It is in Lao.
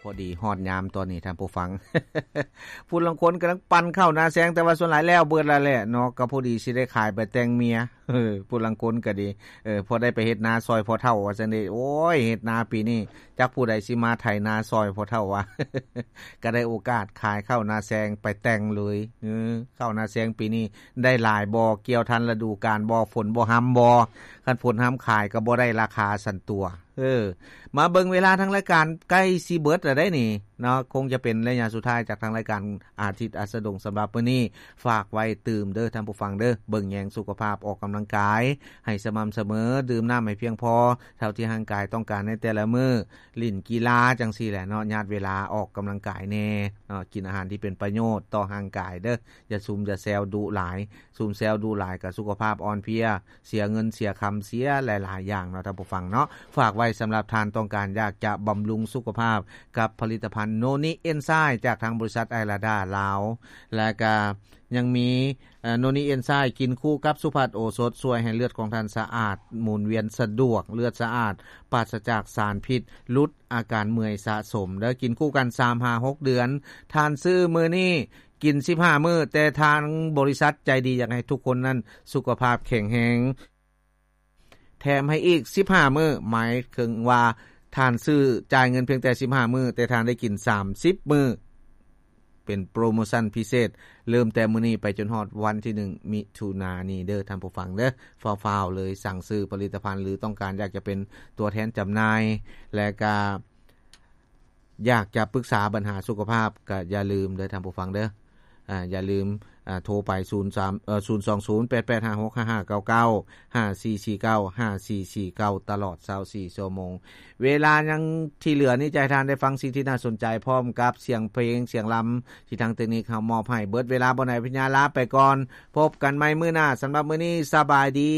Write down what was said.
ພໍດີຮອດຍາມຕອນນີ້ທ່ານຜູ້ຟັງ ຜູ້ລາງຄົນກຳລັງປັ່ນເຂົ້ານາແຊງ ແຕ່ວ່າສ່ວນຫຼາຍແລ້ວເບິດແລ້ວແຫຼະເນາະ ກໍພໍດີຊິໄດ້ຂາຍໄປແຕ່ງເມຍ ເອີ ຜູ້ລາງຄົນກໍດີ ເອີ ພໍໄດ້ໄປເຮັດນາຊ່ອຍພໍ່ເຖົ້າວ່າຊັ້ນເດ. ໂອ້ຍ ເຮັດນາປີນີ້ຈັກຜູ້ໃດຊິມາໄຖນາຊ່ອຍພໍ່ເຖົ້າວ່າ ກໍໄດ້ໂອກາດຂາຍເຂົ້ານາແຊງໄປແຕ່ງເລີຍ ເອີ ເຂົ້ານາແຊງປີນີ້ໄດ້ຫຼາຍບໍ່ ກ່ຽວທັນລະດູການບໍ່ ຝົນບໍ່ຮຳບໍ່ ຄັນຝົນຮຳຂາຍກໍບໍ່ໄດ້ລາຄາຊັ້ນຕົວະ. ເອີ ມາເບິ່ງເວລາ ທາງລາຍການໃກ້ຊິເບິດແລ້ວເດ້ນີ້ເນາະ ຄົງຈະເປັນໄລຍະສຸດທ້າຍຈາກທາງລາຍການອາທິດອັດສະດົງສຳລັບມື້ນີ້. ຝາກໄວ້ຕື່ມເດີທ່ານຜູ້ຟັງເດີ ເບິ່ງແຍງສຸຂະພາບ ອອກກຳລັງກາຍໃຫ້ສະໝ່ຳສະເໝີ ດື່ມນ້ຳໃຫ້ພຽງພໍເທົ່າທີ່ຮ່າງກາຍຕ້ອງການໃນແຕ່ລະມື້ ຫຼິ້ນກິລາຈັ່ງຊີ້ແຫຼະເນາະ ຍາດເວລາອອກກຳລັງກາຍແດ່ເນາະ ກິນອາຫານທີ່ເປັນປະໂຫຍດຕໍ່ຮ່າງກາຍເດີ ຢ່າຊຸມຢ່າແຊວດຸຫຼາຍ ຊຸມແຊວດຸຫຼາຍກໍສຸຂະພາບອ່ອນເພຍ ເສຍເງິນເສຍຄຳ ເສຍຫຼາຍໆຢ່າງເນາະທ່ານຜູ້ຟັງເນາະ. ຝາກໄວ້ສຳລັບທ່ານຕ້ອງການຢາກຈະບຳລຸງສຸຂະພາບກັບຜະລິດຕະພັນໂນນິເອັນໄຊຈາກທາງບໍລິສັດໄອລາດາລາວ ແລະກະຍັງມີ ເອີ ໂນນິເອັນໄຊກິນຄູ່ກັບສຸພັດໂອສົດ ຊ່ວຍໃຫ້ເລືອດຂອງທ່ານສະອາດ ໝູນວຽນສະດວກ ເລືອດສະອາດ ປາສະຈາກສານພິດ ຫຼຸດອາການເມື່ອຍສະສົມເດີ ກິນຄູ່ກັນສາມຫາຫົກເດືອນ. ທ່ານຊື້ມື້ນີ້ ກິນສິບຫ້າມື້ ແຕ່ທາງບໍລິສັດໃຈດີຢາກໃຫ້ທຸກຄົນນັ້ນສຸຂະພາບແຂງແຮງ ແຖມໃຫ້ອີກສິບຫ້າມື້ ໝາຍເຖິງວ່າທ່ານຊື້ ຈ່າຍເງິນພຽງແຕ່ສິບຫ້າມື້ ແຕ່ທ່ານໄດ້ກິນສາມສິບມື້ ເປັນໂປຣໂມຊັນພິເສດ ເລີ່ມແຕ່ມື້ນີ້ໄປຈົນຮອດວັນທີໜຶ່ງ ມິຖຸນານີ້ເດີທ່ານຜູ້ຟັງເດີ. ຟ້າວໆເລີຍ ສັ່ງຊື້ຜະລິດຕະພັນ ຫຼືຕ້ອງການຢາກຈະເປັນຕົວແທນຈຳໜ່າຍ ແລະກະ ຢາກຈະປຶກສາບັນຫາສຸຂະພາບ ກະຢ່າລືມເດີທ່ານຜູ້ຟັງເດີ ອາ ຢ່າລືມ ອາ ໂທໄປ ສູນສາມ ເອີ ສູນສອງສູນ ແປດແປດຫ້າຫົກ ຫ້າຫ້າເກົ້າເກົ້າ ຫ້າສີ່ສີ່ເກົ້າ ຫ້າສີ່ສີ່ເກົ້າ ຕະຫຼອດຊາວສີ່ຊົ່ວໂມງ. ເວລາຍັງທີ່ເຫຼືອນີ້ ຈະໃຫ້ທ່ານໄດ້ຟັງສິ່ງທີ່ໜ້າສົນໃຈ ພ້ອມກັບສຽງເພງ ສຽງລຳ ທີ່ທາງເຕັກນິກເຮົາມອບໃຫ້. ເບິດເວລາບໍ່ໄດ້ ພະຍາ ລາໄປກ່ອນ ພົບກັນໃໝ່ມື້ໜ້າ. ສຳລັບມື້ນີ້ ສະບາຍດີ.